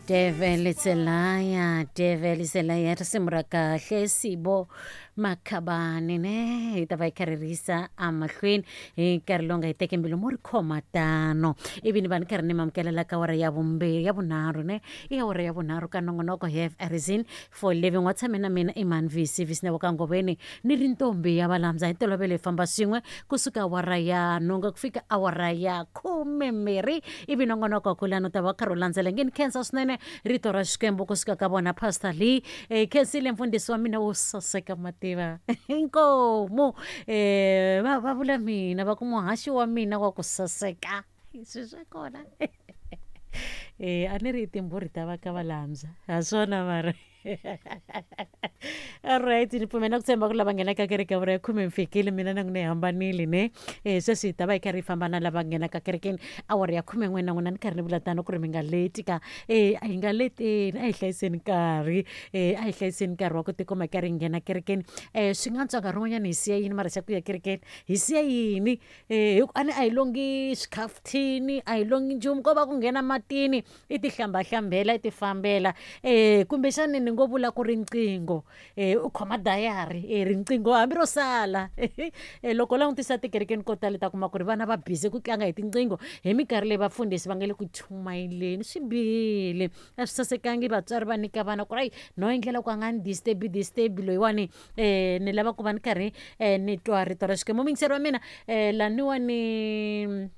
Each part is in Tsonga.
Devil is a liar, devil is a liar. Risimu ra kahle Sibo Makhabani ne hi ta va hi karhi risa emahlweni hi nkarhi lowu nga hi teke mbilu mo ri khoma tano ivi ni va ni karhi ni mamukela la ka awara ya vumbirhi ya vunharhu ne i awara ya vunharhu ka nongonoko have a reason for living wa tshame na mina i mani vc vc na wa ka ngoveni ni ri ntombi ya valamza hi ntolovelo hi famba swin'we kusuka awara ya nhungu ku fika awara ya khumembirhi ivi nongonoko kulani u ta va karhi u landzela nge ni khensa swinene rito ra xikwembu kusuka ka vona pastor lee eh, khensile mfundhisi wa mina wo saseka mativa inkomu eh, va va vula mina va ku muhaxi wa mina wa ku saseka swi swa kona eh, a ni ri timbhurhi ta va ka valambya ha swona mara alright ni pfumela ku tshemba ku lava nghenaka kereke ya vura ya khume mi fikile mina na n'wina hi hambanile ne um sweswi hi ta va hi karhi hi famba na lava nghenaka kerekeni awara ya khume n'we na n'wina ni karhi ni vula tano ku ri mi nga leti ka e a hi nga leteni a hi hlayiseni nkarhi um a hi hlayiseni nkarhi wa ku tikuma hi karhi hi nghena kerekeni um swi nga antswa nkarhi wun'wanyana hi siya yini mara xa ku ya kerekeni hi siya yini um hi ku a ni a hi longi swikhafuthini a hi longi nchumu ko va ku nghena matini i ti hlambahlambela i ti fambela um kumbexani ni ngo vula ku riqingho um u khoma dayari e riqingho hambi ro sala um loko u langutisa tikerekeni ko tala ta kuma ku ri vana va busy ku tlanga hi tinqingho hi minkarhi leyi vafundhisi va nga le ku chumayeleni swi bihile a swi sasekangi vatswari va nyika vana ku ri ayi no endlela ku a nga ni disturb disturb loyiwani um ni lava ku va ni karhi um ni twa rito ra Xikwembu muyingiseri wa mina um laniwani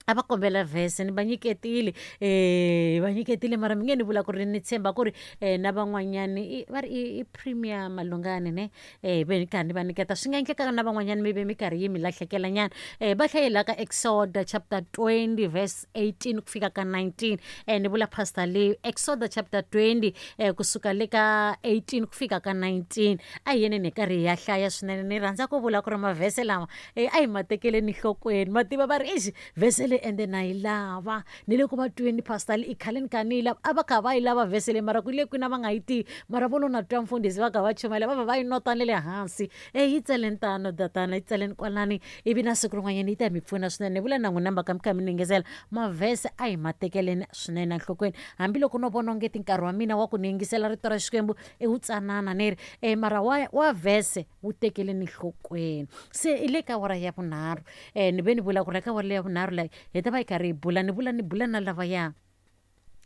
a va kombela vhese ni va nyiketile um va nyiketile mara mi nge ni vula ku ri ni tshemba ku ri um na van'wanyani va ri i premier malungani ne um ve ni karhi ni va nyiketa swi nga endleka na van'wanyani mi ve mi karhi yi mi lahlekela nyana um va hlayela ka Exoda chapter 20 verse 18 ku fika ka 19 um ni vula pastor leyi Exoda chapter 20 um kusuka le ka 18 ku fika ka 19 a hi yeni ni karhi hi ya hlaya swinene ni rhandza ku vula ku ri mavhese lama e a hi ma tekeleni nhlokweni ma tiva va ri exi vhese leyi ende na yi lava ni le ku va tweni pastor i khale ni kha ni yi lava a va kha va yi lava vhese leyi mara ku le kwini a va nga yi tivi mara vo lo na twa mfundhisi va kha va chumayela va va va yi nota ni le hansi e yi tseleni tano tatana yi tseleni kwalani ivi na siku rin'wanyana yi ta mi pfuna swinene ni vula na n'wina mhaka mi kha mi ningisela mavhese a hi ma tekeleni swinene enhlokweni hambiloko no vona ongeti nkarhi wa mina wa ku ni yingisela rito ra Xikwembu i wu tsanana ni ri e mara wa vhese wu tekeleni nhlokweni se i le ka awara ya vunharhu um ni ve ni vula ku ri ka awara ya vunharhu leyi hi ta va hi karhi hi bula ni vula ni bula na lavaya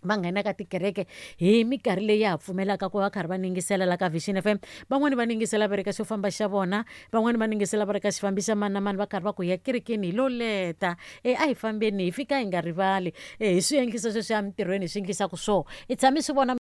va nghenaka tikereke hi minkarhi leyi ya ha pfumelaka ku va karhi va ningisela la ka Vision FM van'wani va ningisela va ri ka xo famba xa vona van'wani va ningisela va ri ka xifambi xa mani na mani va karhi va ku ya kerekeni hi lo leta e a hi fambeni hi fika hi nga rivali e hi swi endlisa sweswi emintirhweni hi swi endlisaka swona i tshame swi vona.